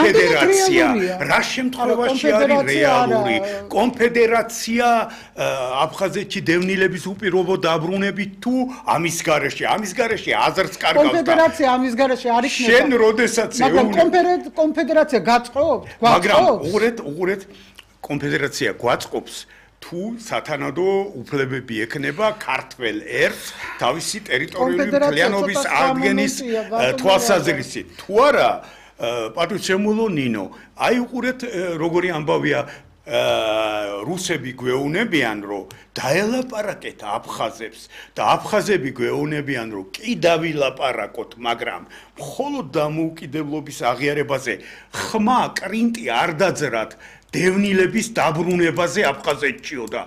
კონფედერაცია რა შემთხვევაში არის რეალური კონფედერაცია აფხაზეთში დევნილების უპირობო დაბრუნებით თუ ამის გარეშე აზრს კარგავს კონფედერაცია ამის გარეშე არ იქნება შენ როდესაც მაგრამ კონფედერაცია გაწყობს მაგრამ უღურეთ კონფედერაცია გვაწყობს თუ სათანადო უფლებები ექნება ქართველ ერთს თავისი ტერიტორიული მთლიანობის აღდგენის თვალსაზრისით თუ არა პატივცემულო ნინო აი უყურეთ როგორი ამბავია რუსები გვეუბნებიან რომ დაელაპარაკეთ აფხაზებს და აფხაზები გვეუბნებიან რომ კი დავილაპარაკოთ მაგრამ მხოლოდ დამოუკიდებლობის აღიარებაზე ხმა კრინტი არ დაძრათ დევნილების დაბრუნებაზე აფხაზეთშიო და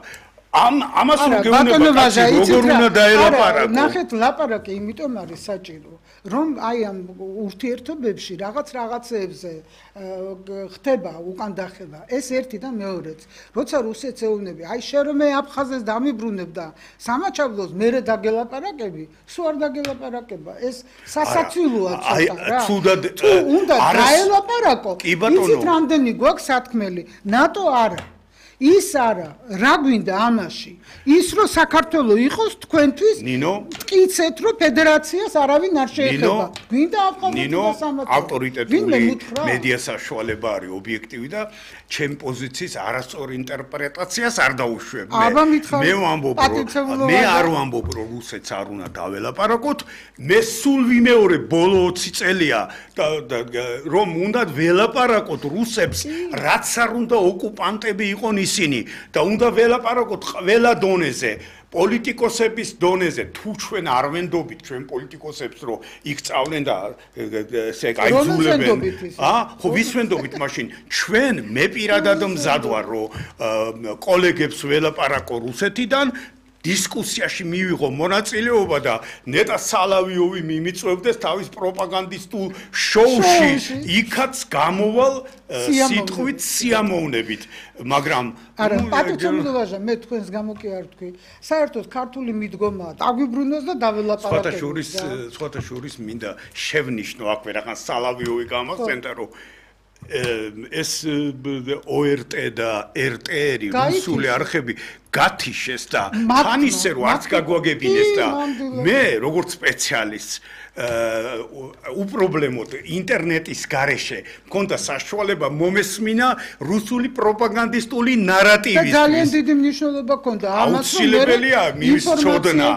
ამას რომ გეუბნება როგორ უნდა დაელაპარაკო ნახეთ ლაპარაკი იმიტომ არის საჭირო რომ აი ამ ურთიერთობებში რაღაცეებზე ხდება უკან დახევა ეს ერთი და მეორეც როცა რუსეთს ეუბნები აი შენ რომ მე აფხაზეთს დამიბრუნებ და სამაჩაბლოს მერე დაგელაპარაკები სულ არ დაგელაპარაკება ეს სასაცილოა ცოტა რა თუ უნდა დაელაპარაკო იცით რამდენი გვაქვს სათქმელი ნატო არა ის არა რა გვინდა ამაში ის რომ საქართველო იყოს თქვენთვის მტკიცეთ რომ ფედერაციას არავინ არ შეეხება გვინდა აფხაზეთი და სამაჩაბლო ავტორიტეტული მედია საშუალება არის ობიექტივი და ჩემ პოზიციის არასწორ ინტერპრეტაციას არ დაუშვებ მე ვამბობ რომ მე არ ვამბობ რომ რუსეთს არ უნდა დაველაპარაკოთ მე სულ ვიმეორებ ბოლო 20 წელია რომ უნდა ველაპარაკოთ რუსებს რაც არ უნდა ოკუპანტები იყონ ისინი და უნდა ველაპარაკოთ ყველა დონეზე პოლიტიკოსების დონეზე თუ ჩვენ არ ვენდობით ჩვენ პოლიტიკოსებს რომ იქ წავლენ და ესე გაიძულებენ ხო ვის ვენდობით მაშინ ჩვენ მე პირადად მზად ვარ რომ კოლეგებს ველაპარაკო რუსეთიდან დისკუსიაში მივიღო მონაწილეობა და ნეტა სალავიოვი მიმიწვევდეს თავის პროპაგანდისტულ შოუში იქაც გამოვალ სიტყვით სიამოვნებით მაგრამ არა პატივცემულობაშა მე თქვენს გამო კი არ თქვი საერთოდ ქართული მიდგომაა დაგვიბრუნოს და დაველაპარაკოთ სხვათა შორის მინდა შევნიშნო აქვე რაღაც სალავიოვი გამახსენდა რომ ეს ORT და RTR რუსული არხები გათიშეს და თან ისე რომ არც გაგვაგებინეს და მე როგორც სპეციალისტ უპრობლემოდ ინტერნეტის გარეშე მქონდა საშუალება მომესმინა რუსული პროპაგანდისტული ნარატივის და ძალიან დიდი მნიშვნელობა ჰქონდა ამას აუცილებელია მის წოდნა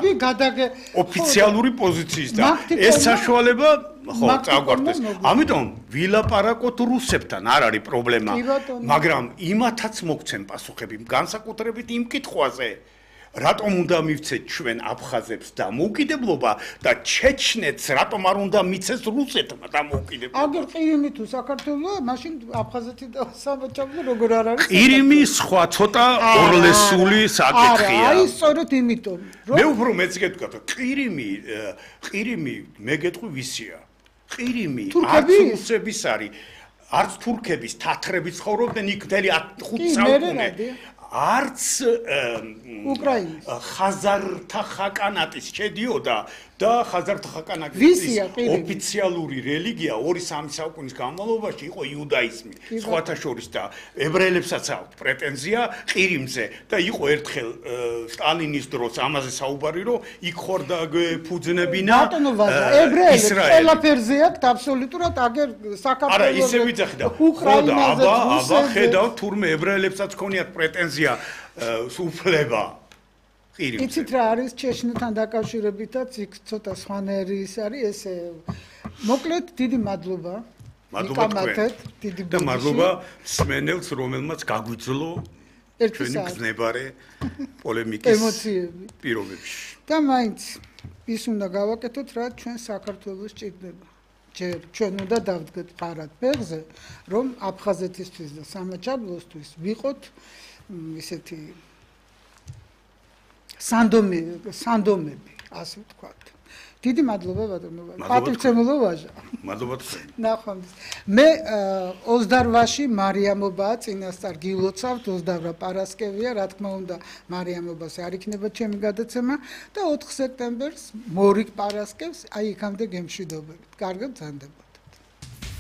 ოფიციალური პოზიციის და ეს საშუალება ხო წაგვარდეს ამიტომ ვილაპარაკოთ რუსებთან არ არის პრობლემა მაგრამ იმათაც მოგცემ პასუხები განსაკუთრებით იმ კითხვაზე რატომ უნდა მივცეთ ჩვენ აფხაზებს დამოუკიდებლობა და ჩეჩნეთს რატომ არ უნდა მიცეს რუსეთმა დამოუკიდებლობა აგერ ყირიმი თუ საქართველოა მაშინ აფხაზეთი და სამაჩაბლო როგორ არ არის ყირიმი სხვა ცოტა ორლესული საკითხია აი სწორედ იმიტომ მე უფრო მეც გეტყვით ყირიმი მე გეტყვი ვისია ყირიმი არც რუსების არის არც თურქების თათრების ცხოვრობდნენ იქ მთელი 5 საუკუნე არც უკრაინის ხაზართა ხაკანატის შედიოდა და ხაზართა ხაკანატის ოფიციალური რელიგია 2-3 საუკუნის განმავლობაში იყო იუდაიზმი სხვათა შორის და ებრაელებსაც აქვთ პრეტენზია ყირიმზე და იყო ერთხელ სტალინის დროს ამაზე საუბარი რომ იქ ხორდა ფუძნებინა ებრაელებს ყველაფერზე აქვს აბსოლუტურად აგერ საქართველოს არა ისე ვიძახი და აბა ხედავ თურმე ებრაელებსაც ქონიათ პრეტენზია უფლება იცით რა არის ჩეჩნეთთან დაკავშირებითაც იქ ცოტა სხვანაირი ის არის ესე მოკლედ დიდი მადლობა და მადლობა სმენელს რომელმაც გაგვიძლო ჩვენი გზნებარე პოლემიკის ემოციები პირობებში და მაინც ის უნდა გავაკეთოთ რა ჩვენ საქართველოს ჭირდება ჯერ ჩვენ უნდა დავდგეთ ფარად ფეხზე რომ აფხაზეთისთვის და სამაჩაბლოსთვის ვიყოთ ისეთი სანდომები, ასე ვთქვათ. დიდი მადლობა ბატონო. პატივცემულობაშა. მადლობა თქვენ. ნახვამდის. მე 28-ში მარიამობაა წინასწარ გილოცავთ 28 პარასკევია, რა თქმა უნდა, მარიამობას არ იქნება ჩემი გადაცემა და 4 სექტემბერს მორიგ პარასკევს, აი იქამდე გემშვიდობებით. კარგად გრძანდება.